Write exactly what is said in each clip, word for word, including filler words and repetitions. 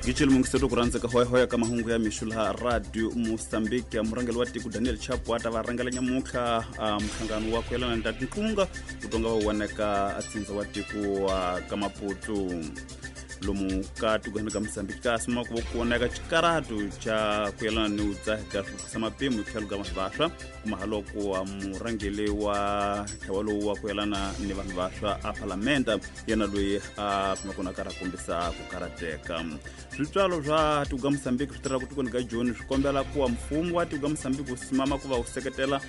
Gicelo mungiseto ku rhandza ka hoyahoya ka mahungu ya mixo laha Radio Mozambique. Murhangeri wa tiko Daniel Chapo a ta va rhangela nyamuntlha nhlangano wa ku yelana na tinqunga ku tonga va waneka atsindza wa tiko wa ka Maputo. Lomu ka tikweni ka Mozambique ka suma ku vonaka xikaratu xa ku yelana ni u dzaha ka swiphukisa mapimo hi tlhelo ka vanhu vantshwa kuma haloko wa murhangeri wa ntlawa lowu wa ku yelana ni vanhu vantshwa a palamende yena loyi a kuma kona karhi a kombisa ku karateka. Switswalo swa tiko ka Mozambique swi tirhaka tikweni ka Joni swi kombela ku wa mfumo wa tiko ka Mozambique wu simama ku va wu seketela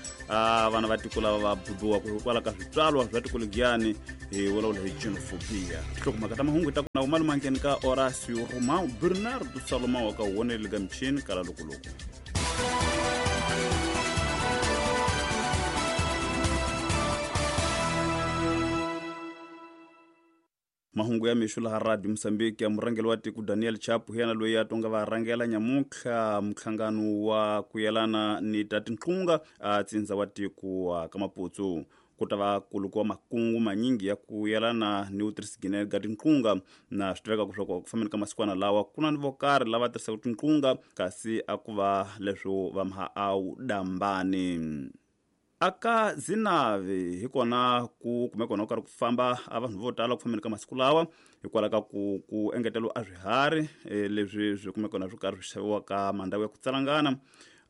vana va tiko lava va bubiwaka hikwalaho ka switswalo swa tiko legiyani hi vulavula hi xenophobia. Tinhlokomhaka ta mahungu ta ku na umaluma ka Horacio Romão Bernardo Salomão ka wonele ka michini kala lokoloko. Mahungu ya mixo laha Radio Mozambique ya murhangeri wa tiko Daniel Chapo yena loyi a tonga va rhangela nyamuntlha nhlangano wa ku yelana ni ta tinqunga a tsindza wa tiko wa ka Maputo. Ku ta va kulukiwa makungu manyingi ya ku yelana ni utirhisigine ka tinqunga na swi tiveka leswaku ku fambeni ka masikwana lawa ku na ni vo karhi lava tirhisaka tinqunga kasi a ku va leswo va maha a wu dambani. Aka Zinave hi kona ku kume kona ku karhi ku famba a vanhu vo tala ku fambeni ka masiku lawa hikwalaho ka ku ku engeteriwa a swiharhi leswi swi kume kona swi karhi swi xaviwa ka mandhawu ya ku tsalangana.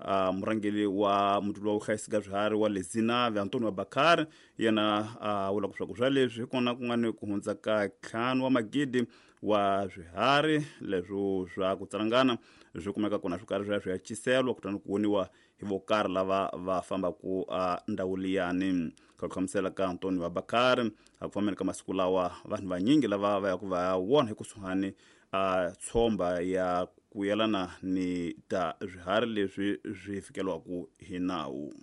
Uh, murhangeri wa muti wa vuhlayisi ka swiharhi wa le Zinave Antonio Bakari yena a uh, vula ku swa leswi hi kona ku nga ni ku hundza ka ntlhanu wa magidi wa swiharhi leswo swa ku tsalangana swi kumeka kona swi karhi swi ya swi ya ciseliwa kutani ku voniwa hi vo karhi lava va fambaku a ndhawu liyani. Ka ku hlamusela ka Antonio Bakari a ku fambeni ka masiku lawa vanhu vanyingi lava va yaku va ya vona hi kusuhani a tshomba ya ku yelana ni ta swiharhi leswi swi fikeliwaku hi nawu.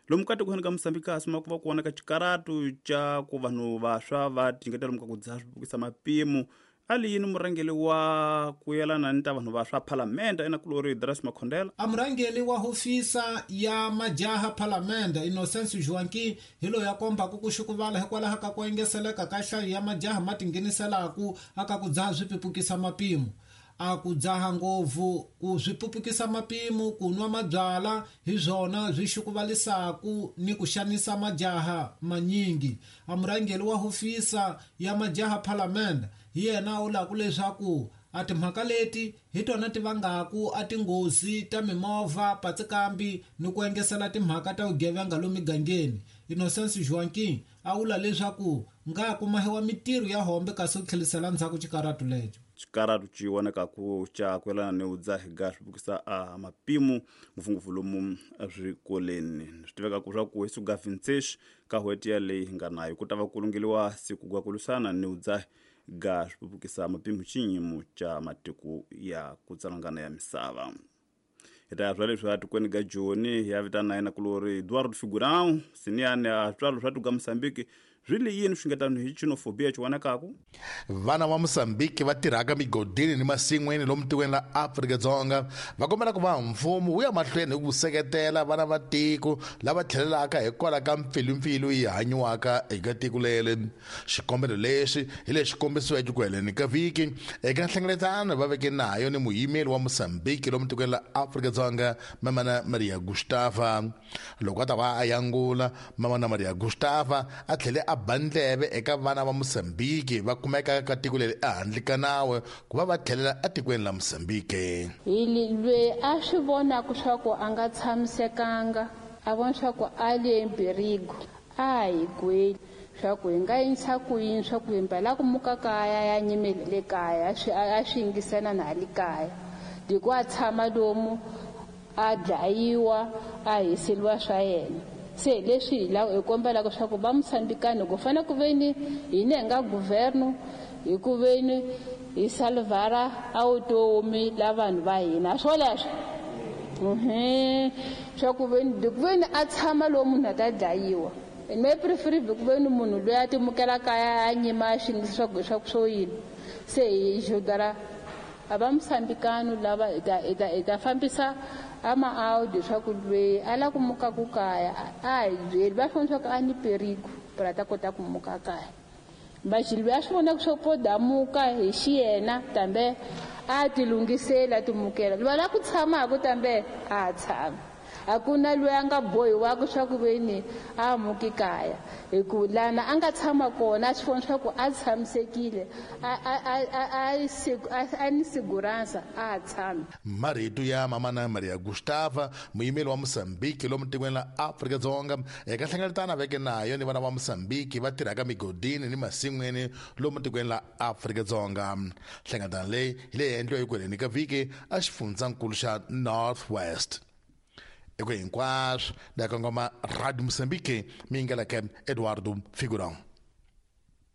Lomu ka tikweni ka Mozambique a suma ku va ku vonaka xikaratu xa ku vanhu vantshwa va tinyiketela lomu ka ku dzaha swipukisa mapimo. A li yini murhangeri wa ku yelana ni ta vanhu vantshwa palamende enakulori Dras Makhondela? A murhangeri wa hofisa ya majaha palamende Innocence Joaquim hi loyi a kombaka ku xukuvala hikwalaho ka ku engeseleka ka nhlayo ya majaha ma tingheniselaka aka ku dzaha swipupukisa mapimo. A ku dzaha ngopfu ku swi pupukisa mapimo ku nwa mabyala hi swona swi xukuvalisaku ni ku xanisa majaha manyingi. A murhangeri wa hofisa ya majaha palamende hi yena u lava leswaku a timhaka leti hi tona ti vangaku a tinghozi ta mimovha patsikambi ni ku engesela timhaka ta vugevenga lomu migangeni. Innocence Joaquim a vula leswaku nga kumahiwa mitirho ya hombe kasi ku tlhelisela ndzhaku xikaratu lexo. Xikaratu xi vonakaku xa ku yelana ni u dzaha ga swipukisa a mapimo ngopfungopfu lomu eswikolweni. Swi tiveka swa ku hi siku ga vintshexe ka n'hweti yaleyi hi nga nayo ku ta va ku lungeliwa siku ga ku lwisana ni u dzaha ga swipupukisa mapimo xiyimo xa matiko ya ku tsalangana ya misava. Hi ta ya swa leswi atikweni ka Joni ya vitana yena kulori Eduardo Figurão siniyani a switswalo swa tiko ka Mozambique swi le yini swi nga hi xenophobia xi vonakaku. Vana va Mozambique va tirhaka migodini ni masin'wini lomu tikweni la Afrika-Dzonga va kombela ku va mfumo wu ya mahlweni hi ku seketela vana va tiko lava tlhelelaka hikwalaho ka mpfilumpfilu yi hanyiwaka eka tiko leri. Xikombelo lexi hi lexi kombisiweke ku heleni ka vhiki eka nhlengeletano va veke nayo ni muyimeri wa Mozambique lomu tikweni la Afrika-Dzonga Mamana Maria Gustava. Loko a ta va a yangula Mamana Maria Gustava a tlhele a bandleve eka vana va Mozambique va kumeka ka tiko leri ehandle ka nawu ku va va tlhelela etikweni la Mozambique. Hi loyi a swi vonaka swa ku a nga tshamisekanga a vona swa ku a le mpirigo a hi gweli swa ku hi nga yinisa ku yini swa ku himba la ku muka kaya ya nyimele le kaya a swi yingisana na le kaya loko a tshama lomu a dlayiwa a hiseliwa swa yena. Se leswi hi hi kombelaka swa ku va Mozambikani ku fanele ku veni hina hi nga governo hi ku veni hi salvara a vutomi la vanhu va hina swoleswo swa ku veni ku veni a tshama lowu munhu a ta dlayiwa. Me prefer ku veni munhu loyi a timukela kaya a nyima xi swa ku swa ku swo yini. Se hi xodara a va Mozambikani lava hi ta hi ta hi ta fambisa ama audi swa ku loyi a lava ku muka ku kaya a hi byeli va swi vona swa ku a ni perigo para ta kota ku muka kaya. Machilwi a swi vona ku swo po damuka hi xiyena tambe A ti lunghisela timukela lwa la ku tshamaka tambe a tshama a ku na loyi a nga bohiwaka swa ku veni a muki kaya hi ku lana a nga tshama kona a swi vona swa ku a tshamisekile a a a a a ni segurança a tshami. Marito ya mamana Maria Gustava, muyimeli wa Mozambique lomu tikweni la Afrika-Dzonga eka hlengeletano veke nayo ni vana va Mozambique va tirhaka migodini ni masin'wini lomu tikweni la Afrika-Dzonga. Hlengeletano leyi hi leyi endliwa ekweleni ka vhiki a xifundzankulu xa North West. Eko hinkwaswo da kongoma Radio Mozambique mingeleke Eduardo Figurão.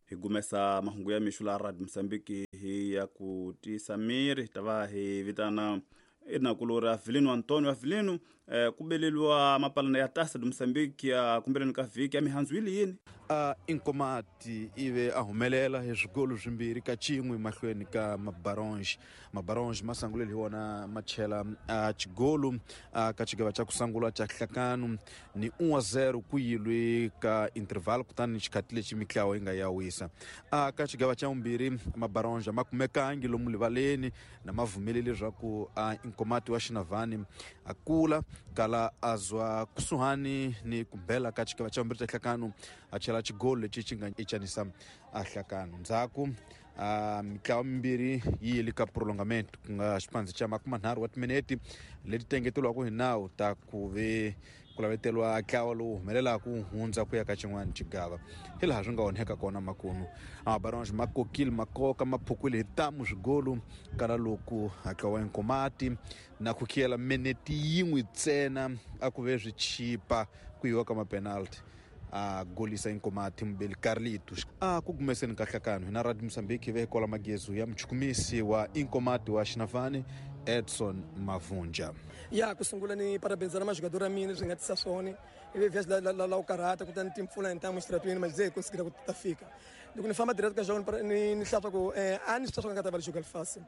Hi gumesa mahungu ya mixo la Radio Mozambique hi ya ku tisa miri ta va hi vitana enakulori Avelino Antonio Avelino eh, ku beleliwa mapalana ya Taça de Moçambique ya kumbeleni ka vhiki ya mihandzu yi yini a Inkomati ive a humelela hi swigolo swimbirhi ka xin'we mahlweni ka Mabaronge. Mabaronge ma sangulele hi wona ma chela a xigolo a ka xigava xa ku sungula xa hlakano ni one a zero ku yilwe ka interval kutani xikhati lexi mitlawa yi nga ya wisa. A ka xigava xa vumbirhi Mabaronge ma kumekangi lomu rivaleni na ma vumelele leswaku a Inkomati wa Xinavani a kula kala azwa kusuhani ni kumbela ka xigava xa vumbirhi xa hlakano a chela xigolo lexi xi nga echanisa a hlakano. Ndzhaku a mitlawa mimbirhi yi yile ka prolongament ku nga xipandzi xa makumanharhu wa timinete leti tengeteriwaka hi nawu ta ku ve ku laveteriwa ntlawa lowu humelelaka ku hundza ku ya ka xin'wana xigava hi laha swi nga onheka kona makunu. Mabaronge ma kokile makoka ma phukwile hi tamu swigolo kala loko ntlawa wa Inkomati na ku khiyela minete yin'we ntsena a ku ve swi chipa ku yiwa ka mapenalty a golisa Inkomati Mbeli Carlito. A ku gumeseni ka hlakano hina Radio Mozambique ve kola magezu ya muchukumisi wa Inkomati wa Xinavani Edson Mavunja. Ya ku sungula ni parabéns na jogador a mina swi nga tisa swona ivi vhesi la la la karata kutani timpfula hi ntamu xitratweni mas ze conseguir ku ta fika loko ni famba direct ka jogo ni ni hlatwa ku a ni swi nga ta va jogar fácil.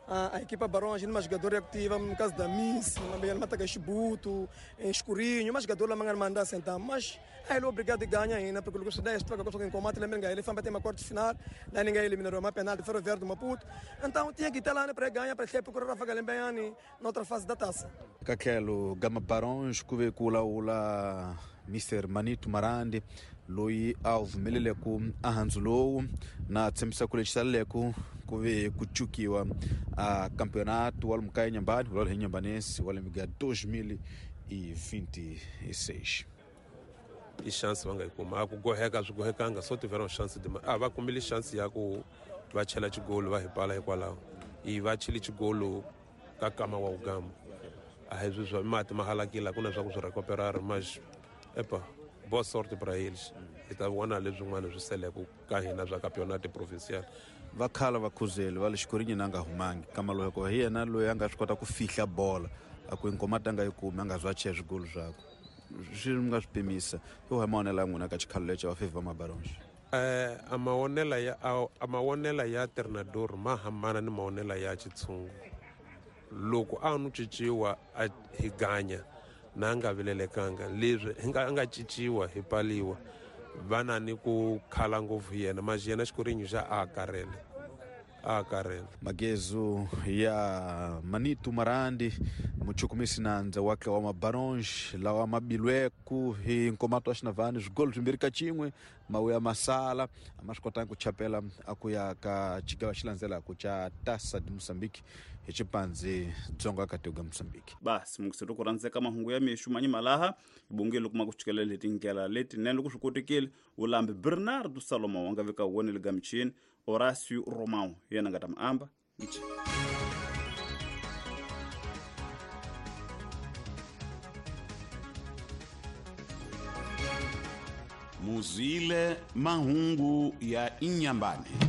A equipa Baronge numa jogador activa no caso da Miss, uma mata Chibuto, Escurinho, mas jogador lá manga mandar sentar, mas aí ele obrigado a ganhar ainda porque o dez troca com combate lembra ele foi para ter uma quarta final, lá ninguém eliminou uma penalti Ferroviário do Maputo. Então tinha que estar lá para ganhar para procurar a Galembeani na outra fase da taça. Kakelo Gama Baronge kuve kula ula Mister Manito Marandi loyi a vumelele ku ahandzu lowu na tshembisa ku lexi ku ve ku cukiwa a campeonato wa Lumkaya Nyambani wa hi Nyambanense wa lembe dois mil e vinte e seis. I chance va nga yi kuma a ku goheka swi gohekanga so tiveram chance de a va kumile chance ya ku va chela xigolo va hi pala hikwalaho i va chile xigolo ka kama wa ugama a hi swi swa mati ma halakile ku na swa ku swi recuperar mas epa boa sorte para eles hi ta vona leswin'wana swi seleke ka hina swa campeonato provincial. Va khala va khuzeli va le xikorini na nga humangi kama loko hi yena loyi a nga swi kota ku fihla bola a ku Inkomati a nga yi kumi a nga zwa chela swigolo swakwe swi nga swi pimisa yo hi maonela ya n'wina ka xikhalo lexi va favor Mabaronge. Eh a maonela ya a maonela ya treinador ma hambana ni maonela ya xitshungu loko a nu cinciwa a hi ganya na nga vilelekanga leswi hi nga nga cinciwa hi paliwa vana ni ku khala ngopfu yena mas yena xikorinyo xa a karele a karele. Magezu ya Manito Marandi muchukumisi nandza wa wa Mabaronge lawa mabilweku hi Inkomati wa Xinavani swigolo swimbirhi ka xin'we mawuya masala a ma swi kotanga ku chapela a ku ya ka xigava xi landzelaka xa Taça de Moçambique hi xipandzi dzonga ka tiko Moçambique. Basi mukusero ku rhandzeka mahungu ya mixo manyimalaha bongelo kuma ku chikelela hi tindlela letinene loko swi kotekile ulambi Bernardo Salomão a nga veka wona le ka michini Horácio Romão yena nga ta mi amba ngichi. Muzile mahungu ya Inyambane.